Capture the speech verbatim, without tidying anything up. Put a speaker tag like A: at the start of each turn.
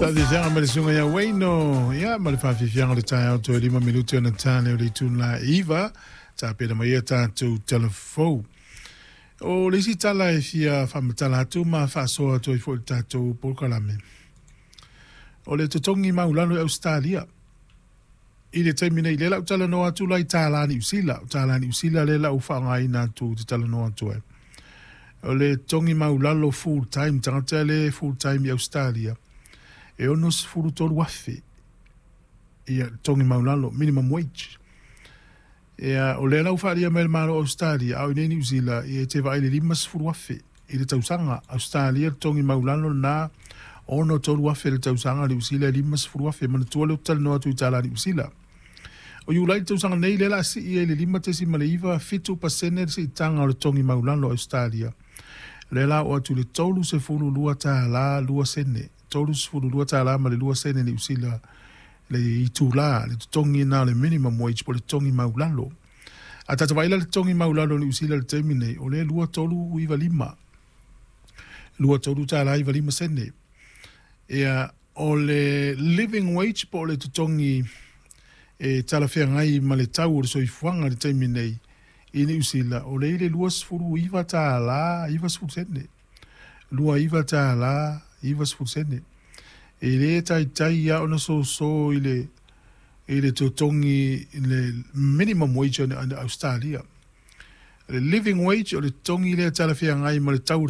A: Faafiafiaga ma le susuga ia Wayno, ia ma le faafiafiaga o le taeao toe lima minute ona tane o le itula iva tapena mai ia tatou talafou. O le isi tala e fia faamatala atu ma faasoa atu ai foi i le tatou polokalame, o le totogi maulalo i Ausetalia i le taimi nei, lea la ou talanoa atu la i tālā Niu Sila, o tālā Niu Sila lea la ua faaaogaina atu ou te talanoa atu ai. O le totogi maulalo full time, tagata le full time i Ausetalia, e ono sefulu tolu afe ia totogi maulalo, minimum wage. Ia, o lea la ua faaalia mai e le Malo o Ausetalia, a o i inei i Niu Sila, ia e te vaai i le lima sefulu afe i le tausaga. Ausetalia le totogi maulalo lena, ono tolu afe le tausaga, Niu Sila e lima sefulu afe. Manatua lea ou te talanoa atu i tālā Niu Sila. O Iulai le tausaga nei, lea o le a sii ai i le lima tesima le iva fitu pasene le siitaga o le totogi maulalo o Ausetalia. Lea la oo atu i le tolu sefulu lua tālā lua sene, tolu sefulu lua tālā ma le lua sene Niu Sila le itulā, le totogi lena o le minimum wage po o le totogi maulalo. A tatou vaai la i le totogi maulalo o Niu Sila i le taimi nei, o lea e lua tolu iva lima, lua tolu tālā iva lima sene. Ia, o le living wage po o le totogi e talafeagai ma le tau o le soifuaga i le taimi nei i Niu Sila, o lea i le lua sefulu iva tālā iva sefulu sene. Lua iva tālā iva sefulu sene. E le taitai lava ona soso i le i le totogi i le minimum wage o Australia. Le living wage o le totogi lea talafeagai ma le tau o le